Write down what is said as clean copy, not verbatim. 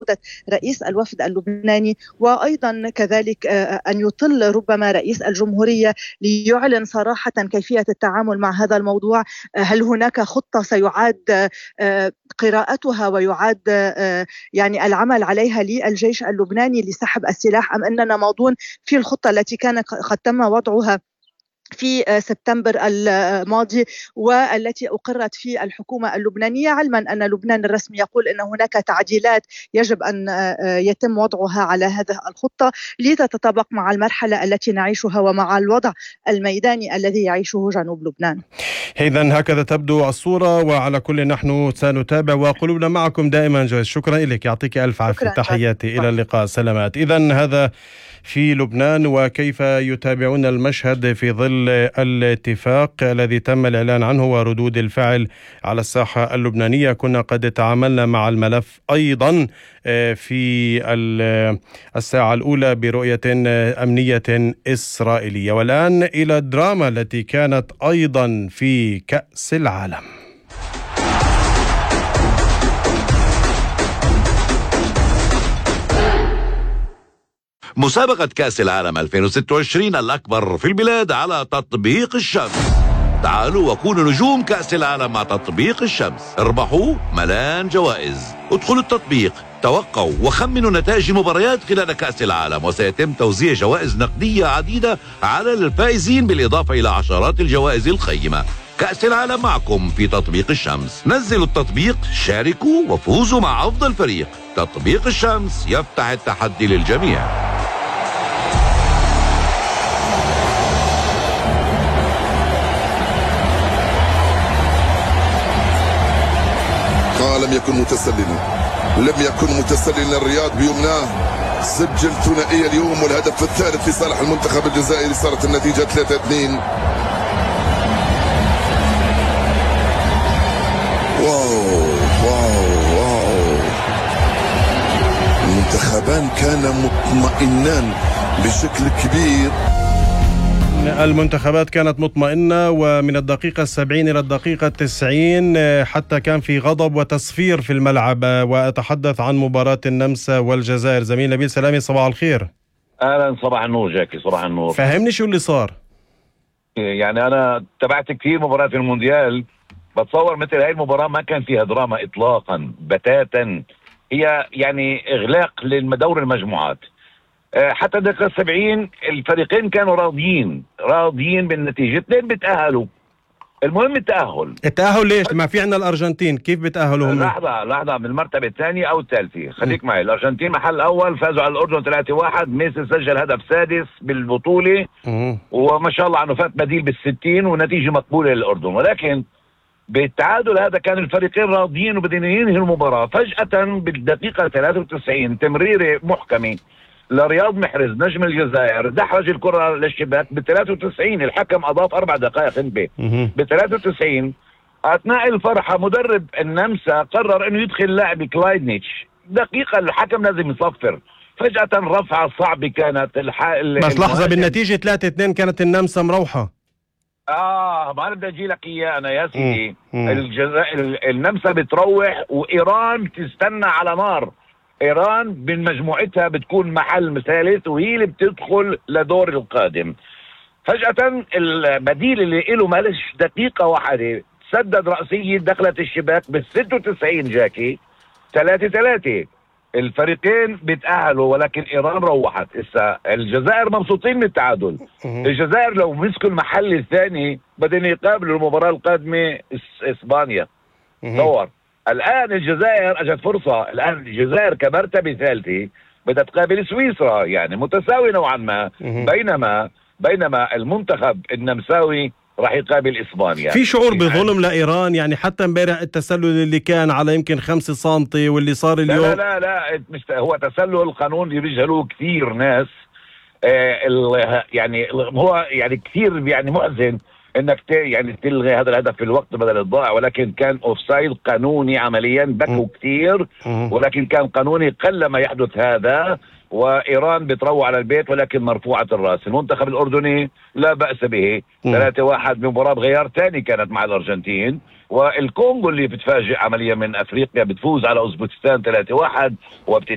عودة رئيس الوفد اللبناني، وأيضا كذلك أن يطل ربما رئيس الجمهورية ليعلن صراحة كيفية التعامل مع هذا الموضوع. هل هناك خطة سيعاد قراءتها ويعاد يعني العمل عليها للجيش اللبناني لسحب السلاح، أم أننا ماضون في الخطة التي كان قد تم وضعها في سبتمبر الماضي والتي أقرت في الحكومة اللبنانية، علما أن لبنان الرسمي يقول أن هناك تعديلات يجب أن يتم وضعها على هذه الخطة لتتطابق مع المرحلة التي نعيشها ومع الوضع الميداني الذي يعيشه جنوب لبنان. إذن هكذا تبدو الصورة، وعلى كل نحن سنتابع وقلوبنا معكم دائما. جويس، شكرا لك، يعطيك ألف عافية، تحياتي، إلى اللقاء، سلامات. إذن هذا في لبنان، وكيف يتابعون المشهد في ظل الاتفاق الذي تم الإعلان عنه وردود الفعل على الساحة اللبنانية. كنا قد تعاملنا مع الملف أيضا في الساعة الأولى برؤية أمنية إسرائيلية. والآن إلى الدراما التي كانت أيضا في كأس العالم. مسابقة كأس العالم 2026 الأكبر في البلاد على تطبيق الشمس. تعالوا وكونوا نجوم كأس العالم مع تطبيق الشمس. اربحوا ملان جوائز. ادخلوا التطبيق، توقعوا وخمنوا نتائج المباريات خلال كأس العالم، وسيتم توزيع جوائز نقدية عديدة على الفائزين بالإضافة إلى عشرات الجوائز القيمة. كأس العالم معكم في تطبيق الشمس. نزلوا التطبيق، شاركوا وفوزوا مع أفضل فريق. تطبيق الشمس يفتح التحدي للجميع. لم يكن متسللا الرياض بيمناه. سجل ثنائية اليوم والهدف الثالث في صالح المنتخب الجزائري. صارت النتيجة 3-2. واو. المنتخبان كانا مطمئنان بشكل كبير. المنتخبات كانت مطمئنة، ومن الدقيقة 70 إلى الدقيقة 90 حتى كان في غضب وتصفير في الملعب. وأتحدث عن مباراة النمسا والجزائر. زميل نبيل سلامي، صباح الخير. أهلا، صباح النور جاكي، صباح النور. فهمني شو اللي صار. يعني أنا تابعت كثير مباريات في المونديال، بتصور مثل هاي المباراة ما كان فيها دراما إطلاقا بتاتا. هي يعني إغلاق للدور المجموعات. حتى الدقيقة 70 الفريقين كانوا راضيين بالنتيجة. 2 بتأهلوا. المهم التأهل ليش؟ ما في عنا الأرجنتين، كيف بتأهلوا هم؟ لحظة من المرتبة الثانية أو الثالثة. خليك معي. الأرجنتين محل أول، فازوا على الأردن 3-1. ميسي سجل هدف سادس بالبطولة، وما شاء الله عنه فات بديل بال60 ونتيجة مقبولة للأردن. ولكن بالتعادل هذا كان الفريقين راضيين وبدين ينهي المباراة. فجأة بالدقيقة 93 تمريرة محكمة لرياض محرز نجم الجزائر، دحرج الكرة للشباك ب93. الحكم أضاف 4 دقائق انبه ب93. أثناء الفرحة مدرب النمسا قرر أنه يدخل لاعب كلايدنيتش. دقيقة الحكم لازم يصفر. فجأة رفعة صعبة كانت بس لحظة، بالنتيجة 3-2 كانت النمسا مروحة. ما أنا بدي أجي لك إياه أنا يا سيدي. النمسا بتروح وإيران بتستنى على نار. إيران من مجموعتها بتكون محل ثالث وهي اللي بتدخل لدور القادم. فجأة البديل اللي له مالش دقيقة واحدة سدد رأسية دخلت الشباك بال96 جاكي. 3-3. الفريقين بيتأهلوا، ولكن إيران روحت. الجزائر مبسوطين من التعادل. الجزائر لو مسكوا المحل الثاني بدهم يقابلوا المباراة القادمة إسبانيا. دور الآن الجزائر أجت فرصة. الآن الجزائر كمرتبة ثالثة بدها تقابل سويسرا، يعني متساوي نوعا ما. بينما المنتخب النمساوي راح يقابل إسبانيا. في شعور بظلم لإيران، يعني حتى امبارح التسلل اللي كان على يمكن 5 سنتي واللي صار اليوم. لا مش هو تسلل القانون اللي بيجهلوه كثير ناس. يعني هو يعني كثير يعني محزن انك يعني تلغي هذا الهدف في الوقت بدل الضائع، ولكن كان اوفسايد قانوني عمليا. بكوا كثير ولكن كان قانوني. قلما يحدث هذا وإيران بتروع على البيت ولكن مرفوعة الرأس. المنتخب الأردني لا بأس به. 3-1 بمباراة غيار ثاني كانت مع الأرجنتين. والكونغو اللي بتفاجئ عمليا من أفريقيا بتفوز على أوزبكستان 3-1